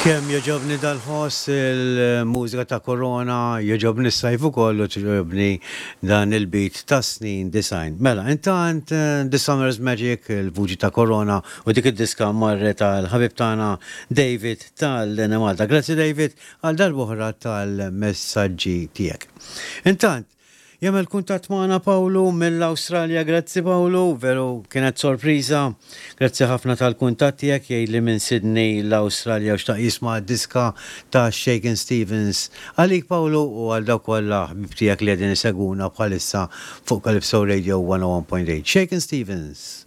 Kemm jogħġobni dal-ħoss il-mużika ta' Corona, jogħġobni s-sajf ukoll u togħġobni dan il-beat tas-snin 90. Mela, intant The Summer's Magic, il-vuċi ta' Corona u dik id-diska marret għal ħabib tagħna David tal-Enemalta. Grazzi David għal darb'oħra tal-messaġġi tiegħek. Intant, Jagħmel kuntatt magħna Pawlu mill-Awstralja. Grazzi Pawlu, veru kienet sorpriża. Grazzi ħafna tal-kuntatt tiegħek jgħidli minn Sydney l-Awstralja u xtaq jisma' d-diska ta' Shakin Stevens. Għalik Pawlu u għal dawk kollha ħbieb tiegħek li qegħdin isegwuna bħalissa fuq Calypso Radio 101.8. Shakin Stevens.